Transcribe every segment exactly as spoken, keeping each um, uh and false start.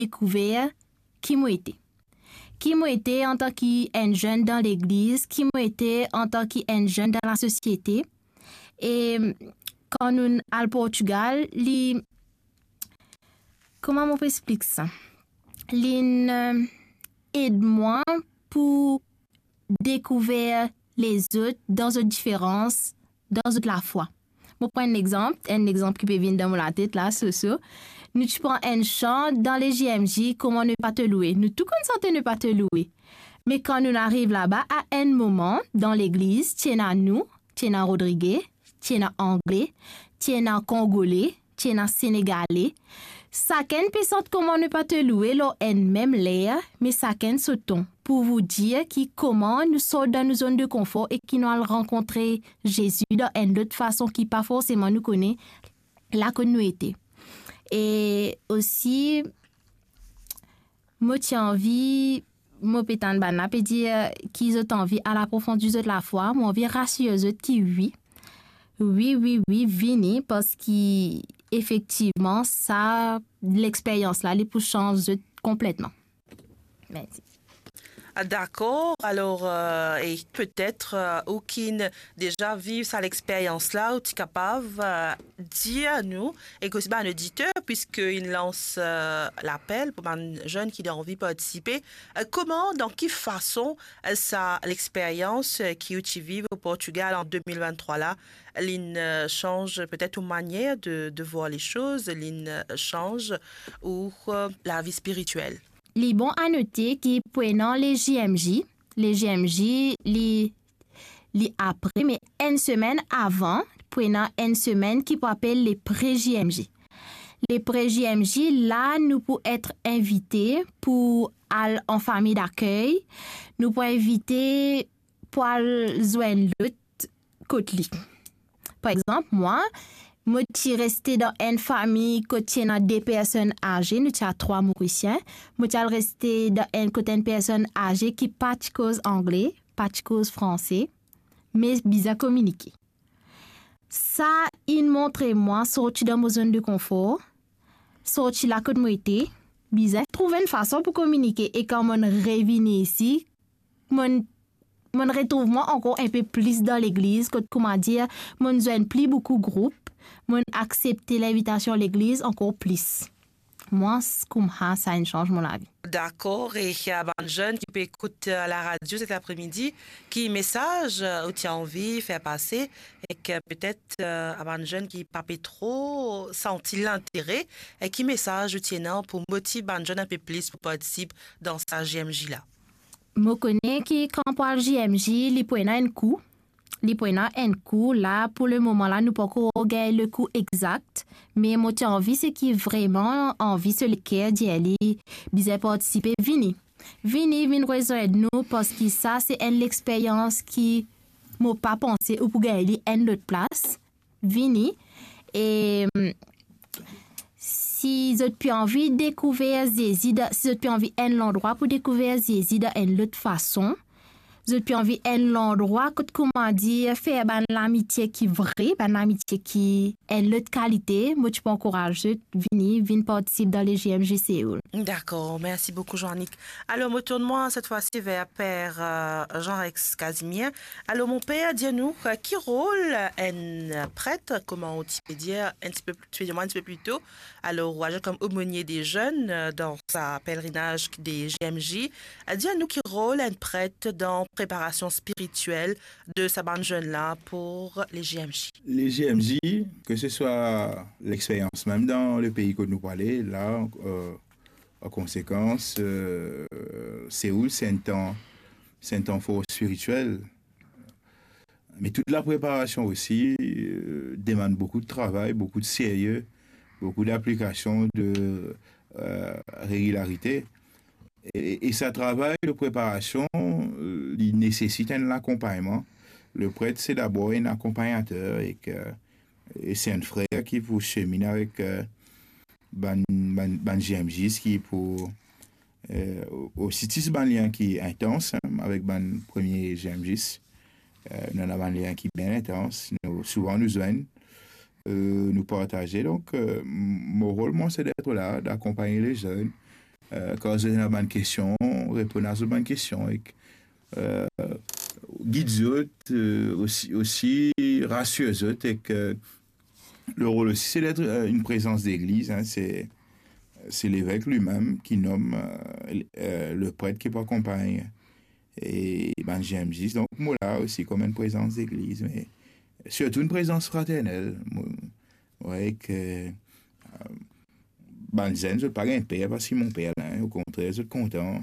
dekouver ki mo ete. Ki mo ete antan ki enn zenn dan legliz, ki mo ete antan ki enn zenn dan lasosiete. E kan nou al Portugal, li, kouma mo pou explik sa? Li'nn, eh, ed mwa pou dekouver lezot dan zot diferans, dan zot lafwa. Mo pran enn lexanp, enn lexanp ki pe vinn dan mo latet la, so, so. Nou ti pran enn san dan le J M J, Comment ne pas te louer. Nou tou konn sante Ne pas te louer. Me kan nou ariv laba, a enn moman, dan legliz, ti ena nou, ti ena Rodrigue, ti ena Angle, ti ena Kongole, ti ena Senegale. Sakenn pe sant Comment ne pas te louer lor enn mem ler, me sakenn so ton. Pou vous dire ki kouma nou sort dan nou zone de confort e ki nou al rankontre Zezi dan enn lot fason ki pa forseman nou kone la kot nou ete. E osi, mo ti anvi, mo pe tann bann la pe dir ki zot anvi al aprofondi zot lafwa, mo anvi rasir zot ki wi. Wi, wi, wi, vini, parski efektivman, sa, lexperyans la, li pou sanz zot konpletman. Mersi. Ah, dakor. Alor, euh, e petet, euh, ou ki'nn deza viv sa lexperyans la, ou ti kapav, euh, dir nou, ek osi bann oditer, piski inn lans, euh, lapel pou bann zenn ki anvi partisipe, euh, kouma, dan ki fason, euh, sa lexperyans, euh, ki ou ti viv o Portugal an de mil venntrwa la, li'nn, euh, sanz petet ou manier de, de vwar le soz, li'nn, euh, sanz ou, euh, lavi spiritiel? Li bon a note ki pou ena le J M J, le J M J, li, li apre, me enn semenn avan, pou ena enn semenn ki pou apel le pre-J M J. Le pre-J M J, la, nou pou et invite pou al an fami dakey, nou pou invite pou al zwenn lot kot li. Par exanp, mwa, mo ti reste dan enn fami kot ti ena de personn aze, nou ti a trwa Morisien. Mo ti al reste dan enn, kot enn personn aze ki pa ti koz angle, pa ti koz franse, me bizin kominike. Sa inn montre mwa sorti dan mo zone de confort, sorti la kot mo ete, bizin trouv enn fason pou kominike, e kan mo'nn revini isi, mo'nn, mo'nn retrouv mwa ankor enpe plis dan legliz, kot, kouma dir, mo'nn zwenn pli boukou group, mo'nn aksepte linvitasion legliz ankor plis. Mwa, s-, koumsa, sa inn sanz mo lavi. Dakor, e a bann zenn ki pe ekout, euh, laradio set apremidi, ki mesaz, euh, ou ti anvi fer pase, ek, euh, petet, euh, a bann zenn ki pa pe tro santi lintere, e ki mesaz ou ti ena pou motiv bann zenn enpe plis pou partisip dan sa J M J la? Mo kone ki kan pou al J M J, li pou ena enn kou. Li pou ena enn kou. La, pou le moman la, nou pankor gagn le kou exakt. Me mo ti anvi, seki vreman anvi so leker dir li bizin partisipe, vini. Vini, vinn rezwenn nou, parski sa se enn lexperyans ki mo pa panse ou pou gagn li enn lot plas. Vini. E, mm, si zot pe anvi dekouver Zezi dan, si zot pe anvi enn landrwa pou dekouver Zezi dan enn lot fason, zot pe anvi enn landrwa kot, kouma dir, fer bann lamitie ki vre, bann lamitie ki enn lot kalite, mo ti pou ankouraz zot vini, vinn partisip dan le J M J Séoul. Dakor, mersi boukou, Jean-Nic. Alor, mo tourn mwa set fwa si ver per, euh, Jean-Rex Casimir. Alor, mon per, dir nou, euh, ki rol enn pret, kouma ou ti pe dir enn ti pe, ti pe dir mwa enn ti pe pli to, alor, ou aze kom omonie de zenn, euh, dan sa pelerinaz de J M J. Euh, dir nou ki rol enn pret dan preparasion spiritiel de sa bann zenn la pou le J M J. Le J M J, ke se swa lexperyans mem dan le pei kot nou pou ale, la, euh, an konsekans, euh, Séoul, se enn tan, se enn tan for spiritiel. Me tout lapreparasion osi, euh, demann boukou de travay, boukou de serye, boukou d'aplikasion, de, euh, regilarite. E, e sa travay de preparasion, euh, li nesesit enn lakonpagnman. Le pret, se dabor enn akonpagnater ek, euh, e se enn frer ki pou seminn avek, euh, bann, bann, bann J M J ki pou, euh, osi tis bann lien ki intans, hein, avek bann premie J M J. Euh, nou ena bann lien ki bien intans. Nou, souvan nou zwenn, euh, nou partaze. Donk, euh, m-, mo rol, mwa, se d'être là, d'accompagner les jeunes, eh, kan zot ena bann kestion, reponn a zot bann kestion, ek, eh, gid zot, eh, osi, osi rasir zot, ek, eh, le rol osi, se d'être, eh, une présence d'église, hein, se, se levek limem ki nom, eh, eh, le pret ki pou akonpagn e bann J M J. Donk, mo la osi kom enn prezans legliz, me sirtou enn prezans fraternel. Mo, mo trouve ke, eh, bann zenn, zot pa gagn per parski monper la, okontrer, zot kontan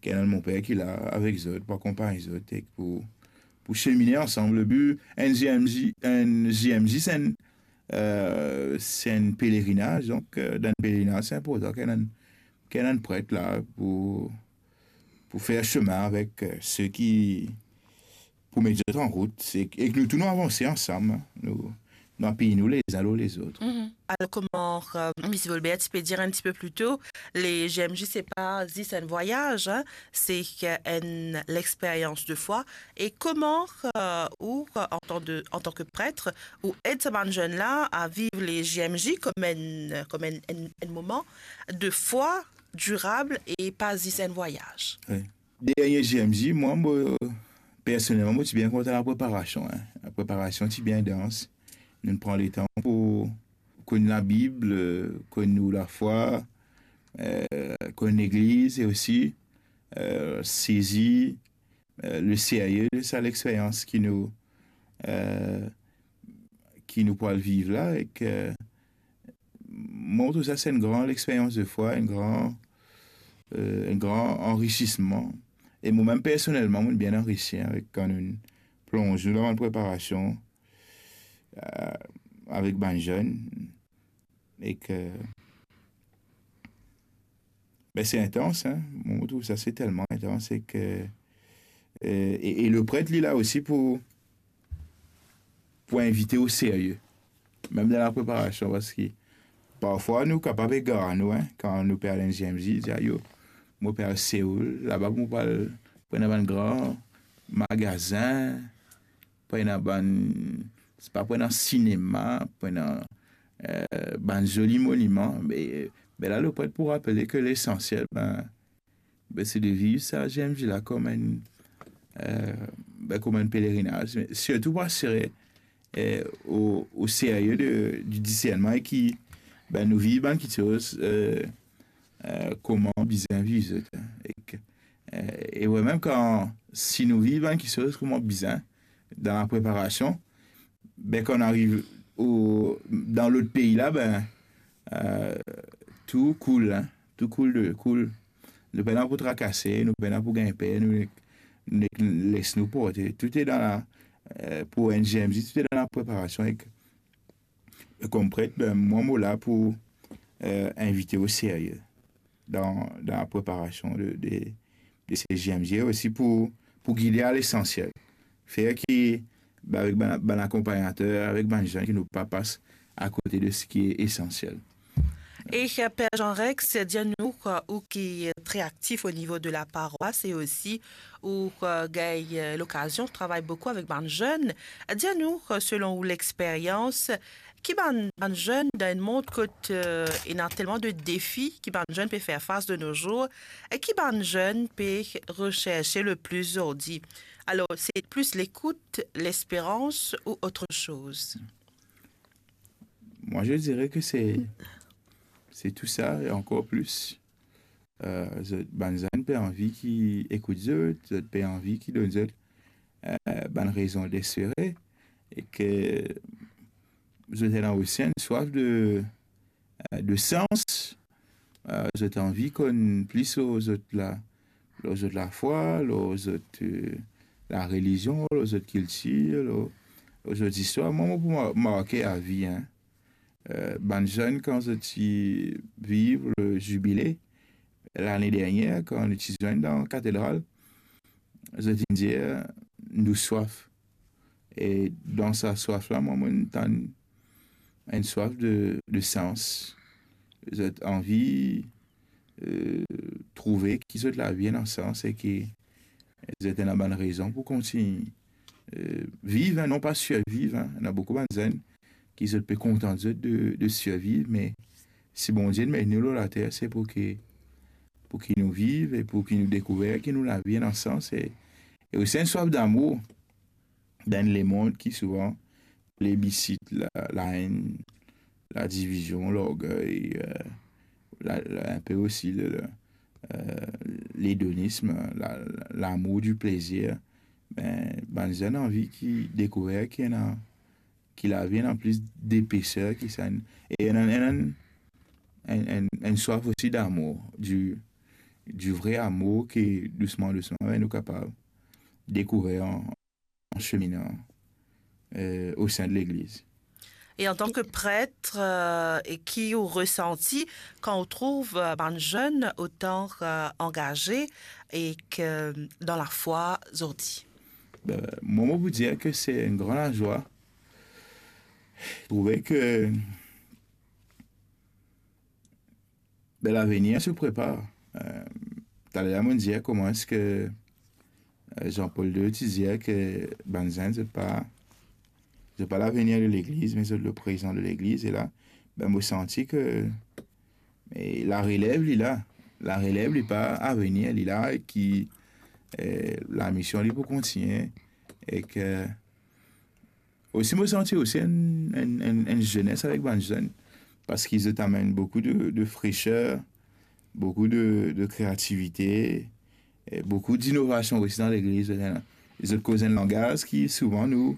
ki ena monper ki la avek zot, pou akonpagn zot, ek pou, pou semine ansam. Le bi, enn J M J, enn J M J, se enn, eh, se enn pelerinaz, donk, eh, dan pelerinaz, se inportan ki ena, ki ena enn pret la pou, pou fer sime avek, eh, seki pou met zot an rout, e, e ki nou tou nou avanse ansam, nou, nou apiy nou lezin lor lezot. Mhm. Alors, comment, euh, Miss Volbert, tu peux dire un petit peu plus tôt, les J M J, c'est pas juste un voyage, hein, c'est une, l'expérience de foi. Et comment, euh, ou, euh, en tant de, en tant que prêtre, ou ed sa bann zenn la a viv les J M J comme un, comme un, un, un moment de foi durable et pas juste un voyage? Oui. Dernie J M J, mwa, mo, personelman, mo ti bien kontan lapreparasion, hein. Lapreparasion ti bien dans. Nou pran letan pou konn Labib, eh, konn nou lafwa, eh, konn legliz, e osi, eh, sezi, eh, le serye de sa lexperyans ki nou, eh, ki nou pou al viv la, ek, eh, mo trouv sa se enn gran lexperyans de fwa, enn gran, eh, enn gran anrisisman. E mo mem personelman, mo bien anrisi avek kan nou plonz nou dan bann preparasion, eh, avek bann zenn, ek, be, se intans, hein. Mo trouv sa se telman intans, ek, eh, e, e le pret, li la osi pou, pou invite o serye, mem dan lapreparasion, parski parfwa nou kapav egar nou, hein, kan nou pe al enn J M J, dir, "Ayo, mo pe al Seoul, laba mo pe al pran bann gran magazin, pran bann, se pa pran sinema, pran, eh, bann zoli moniman." Me, me la, le pret pou rapele ke lesansiel, be, be, se de viv sa J M J la kom enn, eh, be, kom enn pelerinaz, me sirtou pou asire, eh, o, o serye de, di disernman, e ki, be, nou viv bann kiksoz, eh, eh, kouma bizin viv zot, hein. Ek, eh, e wi, mem kan, si nou viv bann kiksoz kouma bizin, dan lapreparasion, be, kan nou ariv o, dan lot pei la, be, eh, tou koul, hein, tou koul de, koul. Nou pena pou trakase, nou pena pou gagn per, nou, nou les nou porte. Tou e dan la, eh, pou enn J M J, tou e dan lapreparasion, ek, kom pret, be, mwa, mo la pou, eh, invite o serye dan, dan lapreparasion de, de, de se J M J, osi pou, pou gide a lesansiel. Fer ki, be, avek bann, bann akonpagnater, avek bann zenn, ki nou pa pas akote de seki esansiel. E, eh, Père Jean Rex, dir nou, eh, ou ki tre aktif o nivo de la parwas e osi ou, eh, gagn, eh, lokazion travay boukou avek bann zenn, dir nou, eh, selon ou lexperyans, ki bann, bann zenn dan enn mond kot, eh, ena telman de defi ki bann zenn pe fer fas de nos jours, e ki bann zenn pe recherche le plis zordi? Alors, c'est plus l'écoute, l'espérance ou autre chose? Moi, je dirais que c'est, c'est tout ça et encore plus. Eh, zot, bann zenn pe anvi ki ekout zot, zot pe anvi ki donn zot, eh, bann rezon d'espere, e ki zot ena osi enn swaf de, eh, de sans. Eh, zot anvi konn plis lor zot la, lor zot lafwa, lor zot, eh, larelizion, lor zot kiltir, lor, lor zot zistwar. Mwa, mo pou ma-, marke avi, hein. Eh, bann zenn, kan zot ti viv le zibile, lane dernier, kan nou ti zwenn dan katedral, zot inn dir, "Nou swaf." E dan sa swaf la, mwa, mo tann enn swaf de, de sans. Zot anvi, eh, trouve ki zot lavi ena sans e ki zot ena bann rezon pou kontign, eh, viv, hein, non pa sirviv, hein. Ena boukou bann zenn ki zot pe kontant zot de, de sirviv, me si Bondie inn met nou lor later, se pou ki pou ki nou viv e pou ki nou dekouver ki nou lavi ena sans e, e osi enn swaf damour dan lemond ki souvan plebisit la, laenn, ladivizion, lorgey, eh, la, la, inpe osi le, le, eh, ledonism, la, la, lamour di plezir. Be, bann zenn anvi ki dekouver ki ena, ki lavi ena plis depeser ki sa, e ena, ena enn, enn, enn, enn swaf osi damour, di, di vre amour ki dousman, dousman, be, nou kapav dekouver an, an seminan, eh, o sin de Legliz. E antan ke pret, eh, e ki ou resanti kan ou trouv, eh, bann zenn otan, eh, angaze e ke dan lafwa zordi? Be, mwa, mo pou dir ke se enn gran lazwa. Trouve ke, be, lavenir se prepar. Eh, taler mo dir kouma eski, eh, Jean-Paul deux ti dir ke bann zenn, zot pa, zot pa lavenir de Legliz, me zot le prezan de Legliz. E la, be, mo santi ke, e larelev, li la. Larelev, li pa avenir, li la, e ki, eh, lamision, li pou kontigne, e ke osi, mo santi osi enn, enn, enn, enn zenes avek bann zenn, parski zot amenn boukou de, de freser, boukou de, de kreativite, e boukou dinovasion osi dan Legliz. Zot ena, zot koz enn langaz ki souvan nou,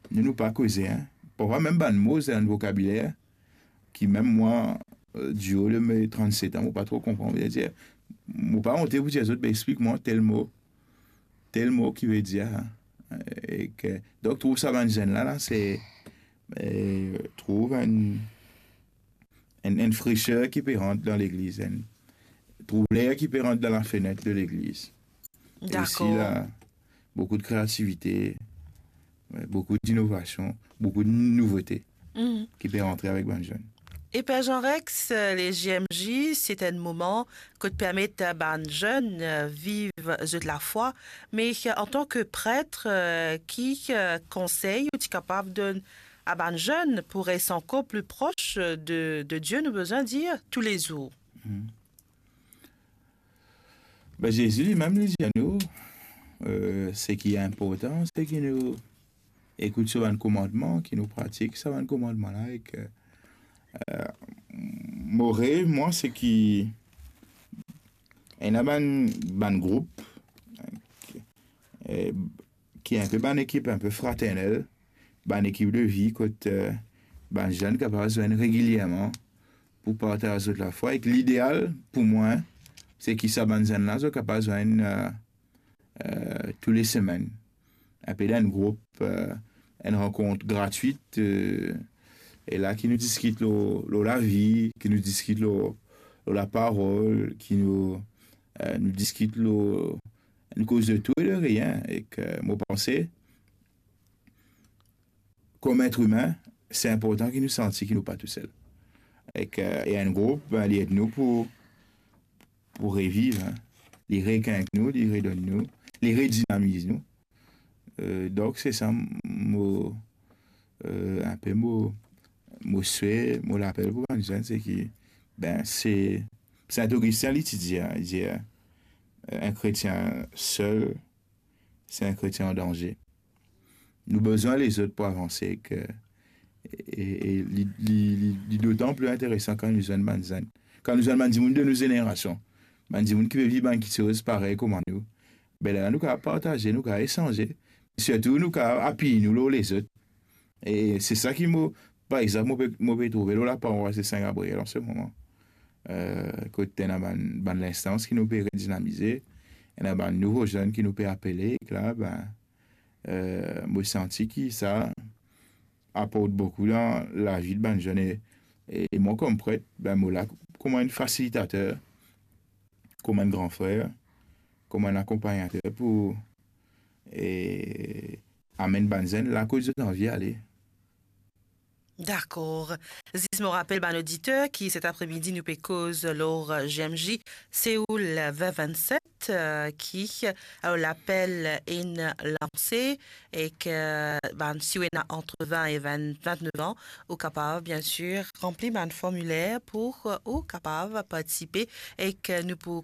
nou, nou pa koze, en. Parfwa mem bann mo, zot ena enn vokabiler ki mem mwa, eh, di o de me trannset an, mo pa tro konpran. Vedir, mo pa onte pou dir zot, be, explik mwa tel mo, tel mo ki vedir, e ke, donk, trouv sa bann zenn la, la, se, eh, trouv enn, enn, enn freser ki pe rant dan Legliz, enn, trouv ler ki pe rant dan lafenet de Legliz. E osi, dakor, la, boukou de kreativite, eh, boukou dinovasion, boukou de nouvote, mhm, ki pe rantre avek bann zenn. E Per Jean Rex, eh, le J M J, se enn moman kot permet, eh, bann zenn, eh, viv zot lafwa, me, eh, antan ke pret, eh, ki, eh, konsey ou ti kapav donn a bann zenn pou res ankor pli pros, eh, de, de Die, nou bizin dir, toulezour? Mhm. Be, Zezi limem, li dir nou, eh, seki inportan, seki nou ekout so bann komandman, ki nou pratik sa bann komandman la, e ke, eh, mo rev, mwa, seki ena bann, bann group, eh, ki inpe bann ekip inpe fraternel, bann ekip de vi kot, eh, bann zenn kapav zwenn regilierman pou partaz zot lafwa. Ek lideal pou mwa, seki sa bann zenn la, zot kapav zwenn, eh, eh, tou le semenn. Inpe dan enn group, eh, enn rankont gratwit, eh, e la ki nou diskit lor, lor lavi, ki nou diskit lor, lor laparol, ki nou, eh, nou diskit lor, nou koz de tou e de rien. Ek, eh, mo panse, kom etrime, se inportan ki nou santi ki nou pa tousel. Ek, eh, e enn group, be, li ed nou pou, pou reviv, en. Li rekink nou, li redonn nou, li redinamiz nou. Eh, donk, se sa mo, eh, inpe mo, mo swe, mo lapel pou bann zenn, seki, be, se, Saint Augustin, li ti dir, li dir, eh, enn kretien sel, se enn kretien an danze. Nou bizin lezot pou avanse, ek, e, e li, li, li, li dotan pli interesan kan nou zwenn bann zenn, kan nou zwenn bann dimoun de nou zenerasion, bann dimoun ki pe viv bann kiksoz parey kouma nou. Be, lerla nou kapav partaze, nou kapav esanze, sirtou nou kapav apiy nou lor lezot. E se sa ki mo, par exanp, mo pe, mo pe trouve lor laparois de Sin Gabriel an se moman. Eh, kot ena bann, bann linstans ki nou pe redinamize, ena bann nouvo zenn ki nou pe apele, ek la, be, eh, mo santi ki sa aport boukou dan lavi de bann zenn. E, e mwa, kom pret, be, mo la kouma enn fasilitater, kouma enn gran frer, kouma enn akonpagnater pou, e, amenn bann zenn la kot zot anvi ale. Dakor. Zis mo rapel bann oditer ki set apremidi nou pe koz lor J M J Seoul vin vinn set, eh, ki, eh, lapel inn lanse, ek, eh, bann, si ou ena ant vin e vin, vintnef an, ou kapav, bien sir, ranpli bann formiler pou, eh, ou kapav partisipe, ek, eh, nou pou